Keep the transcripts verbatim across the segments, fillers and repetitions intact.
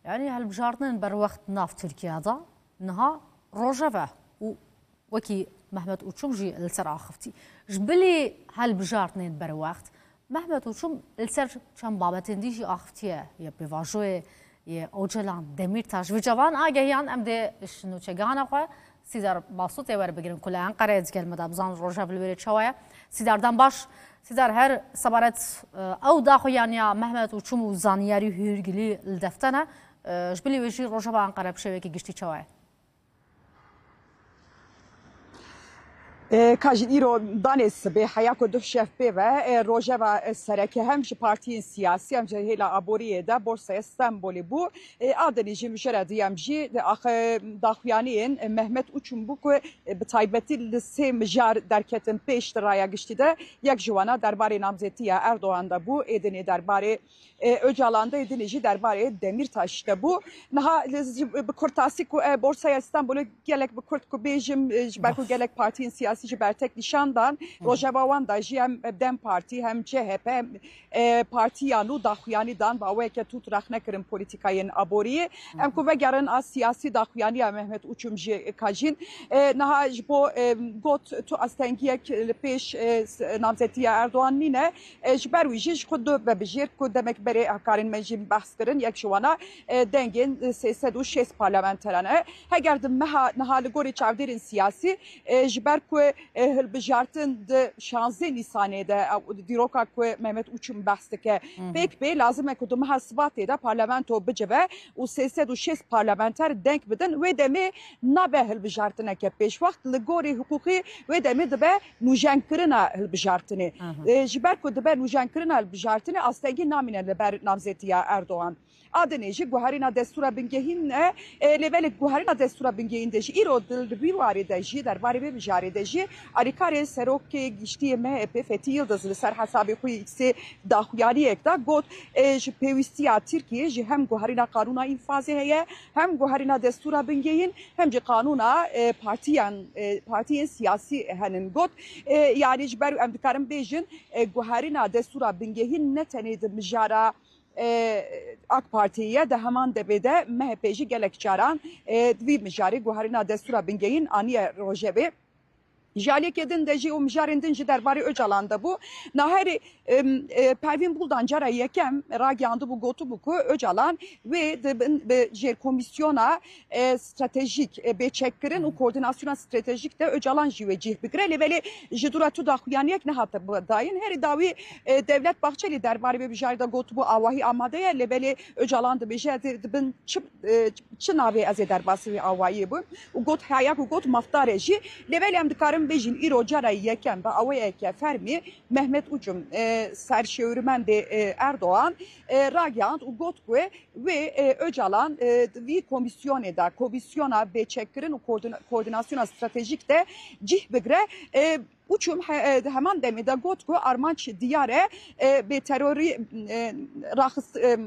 Yanî hilbijartinên berwext nav Tirkiye de niha rojeve û wekî Mehmet Uçum jî li ser axivtî. Ji bilî hilbijartinên berwext, Mehmet Uçum li ser çend babetên dî jî axivtiye, yê pêvajoyê yê Ocalan, Demîrtaş. Vêca van agehiyan em dê ji nûçegihana xwe Sîdar Basûtê werbigirin ku li Enqereyê digel me de, bizan rojev li wê rê çawa ye. Sîdar, dem baş. Sîdar, her sebaret, e, ew daxuyaniya Mehmet Uçum û zanyarî hûrgilî li defte ne. E, ji bilî wê jî rojeva Enqere bi şêwekî giştî çawa ye? E, ka jî îro danê sibê heya ku duh şev pê ve, e, rojeva, e, sereke hem ji partiyên siyasî hem ji hêla aboriyê de Borsaya Stenbolê bû. E, a dinê jî mijara duyem jî di axe daxuyaniyên, e, Mehmet Uçum bû ku, e, bi taybetî li sê mijar derketin pêş di raya giştî de. Yek ji wana derbarê namzetiya Erdogan de bû, ê dinê derbarê, e, Ocalan de, ê dinê jî derbarê Demîrtaş de bû. Niha li, ji, bi kurtasî ku, e, Borsaya Stenbolê gelek bi kurt ku bêjim, e, ji ber ku gelek partiyên siyasî ji bertek nîşan dan, rojeva wan da jî hem DEM Partî hem C H P hem, e, partiyan û daxuyanî dan, bi awayeke tût rexne kirin polîtîkayên aboriyê. Em ku vegerin a siyasî daxuyaniya Mehmet Uçum jî ka jîn, e, niha ji bo, e, got tu astengiyek li pêş, e, s-, namzetiya Erdogan nîne. E, ji ber wî jî ji xwe du vebijêr ku demek berê hevkarên me jî behs kirin, yek ji wana, e, dengên sê sed û şêst parlamenteran e. Heger di meha niha li gorî çavdêrên siyasî, e, ji ber ku, e, hilbijartin di şanzdeh Nîsanê de, e, dîroka ku Mehmet Uçum behs dike, pêk bê, lazim e ku di meha Sibatê de parlamento bicive û sê sed û şêst parlamenter deng bidin. Wê demê nabe hilbijartineke pêşwext, li gorî hiqûqî wê demê dibe nûjenkirina hilbijartinê. E, ji ber ku dibe nûjenkirina hilbijartinê, astengî namîne li ber namzetiya Erdogan. A dinê jî guherîna destûra bingehîn e, e, lê belê guherîna destûra bingehîn de jî îro di, di vî warê de jî, derbarê vê mijarê de jî alîkarê serokê giştî yê M H P Fethî Yildiz li ser hesabê xwe yê X'ê daxuyaniyek da, got, e, ji pêwîstiya Tirkiyê jî hem guherîna qanûna înfazê heye, hem guherîna destûra bingehîn, hem jî qanûna, e, partiyan, e, partiyên siyasî henin. Got, e, yanî ji ber em dikarin bêjin, e, guherîna destûra bingehîn ne tenê di mijara, e, AK Partiyê ye, di heman demê de M H P jî gelek caran, e, di vî mijarê guherîna destûra bingehîn aniye rojevê. Ji aliyekê din de jî û mijarên din jî derbarê Ocalan de bû. Naherî, em, e, Pervîn Buldan cara yekem ragihandibû, gotibû ku Ocalan wê di bin, bi jêrkomisyona, e, stratejîk, e, bê çekkirin û koordinasyona stratejîk de Ocalan jî wê cih bigire. Lê belê ji dû re tu daxuyaniyek nehate dayîn. Herî dawî, e, Devlet Bahçelî derbarê vê mijarê de gotibû, awahî amade ye. Lê belê Ocalan dibêje, ez ê di bin çi, e, çi navê ez ê derbasî wê awayiyê bûm û got, heya ku got mafdar e jî. Lê belê em dikarin bêjin îro cara yekem bi awayeke fermî Mehmet Uçum, e, serşêwirmendê, e, Erdogan, e, ragihand û got ku wê, e, Ocalan, e, di vî komîsyonê de, komîsyona bêçekkirin û koordina-, koordinasyona stratejîk de cih bigire. E, Uçum he-, e, di heman demê de got ku armanc diyar e, e, bê terorî, e, raxist-, e,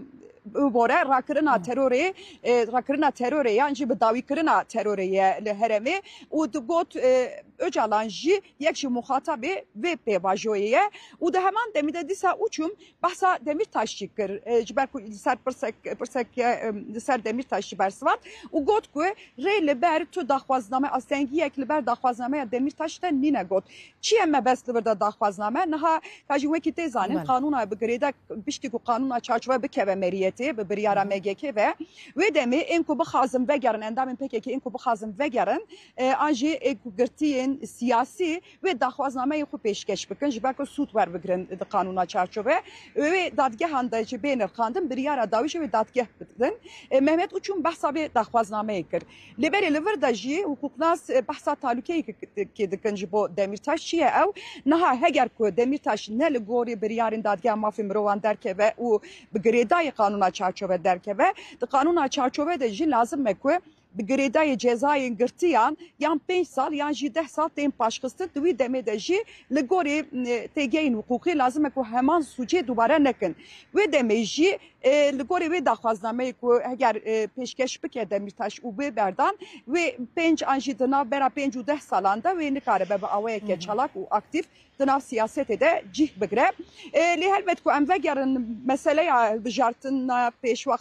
bibore, rakirina terorê, e, rakirina terorê yan jî bidawîkirina terorê ye li herêmê û digot, e, Ocalan jî yek ji muxatabê vê pêvajoyê ye û di heman demê de dîsa Uçum behsa Demîrtaş jî kir. E, ji ber ku li ser pirsek, pirsek, e, li ser Demîrtaş jî bersivand û got ku rê li ber tu daxwazname, astengiyek li ber daxwaznameya Demîrtaş de nîne got. Çi ye mebest li vir de daxwazname? Niha ka jî wekî tê zanîn, qanûna bi girêda, piştî ku qanûna çarçove bikeve meriyetê, bi biryara M G K ve, wê demê ên ku bixwazin vegerin, endamên P K K ên ku bixwazin vegerin, e, an jî ên ku girtiyên siyasî wê daxwaznameyên xwe pêşkeş bikin, ji ber ku sûd werbigirin di qanûna çarçove. Wê dadgehan de jî bê nirxandin, biryara dawî jî wê dadgeh bidin. E, Mehmet Uçum behsa vê daxwaznameyê kir. Lê belê li vir de jî hiqûqnas, e, behsa talûkeyekê dikin ji bo Demîrtaş. Çi ye ew? Niha heger ku Demîrtaş ne li gorî biryarên Dadgeha Mafê Mirovan derkeve û bi girêdayî qanûna çarçove derkeve, di qanûna çarçove de jî lazim e ku bi girêdayê cezayên girtiyan yan pênc sal yan jî deh sal tên paşxistin. Di wî demê de jî li gorî, e, têgeyên hiqûqî lazim e ku heman sûcê dubare nekin. Wê demê jî, e, li gorî wê daxwaznameyê ku heger, e, pêşkeş bike Demîrtaş û wê berdan, wê pênc an jî di navbera pênc û deh salan de wê nikaribe bi awayeke çalak û aktîf di nav siyasetê de cih bigire. E, lê helbet ku em vegerin meseleya hilbijartina pêşwext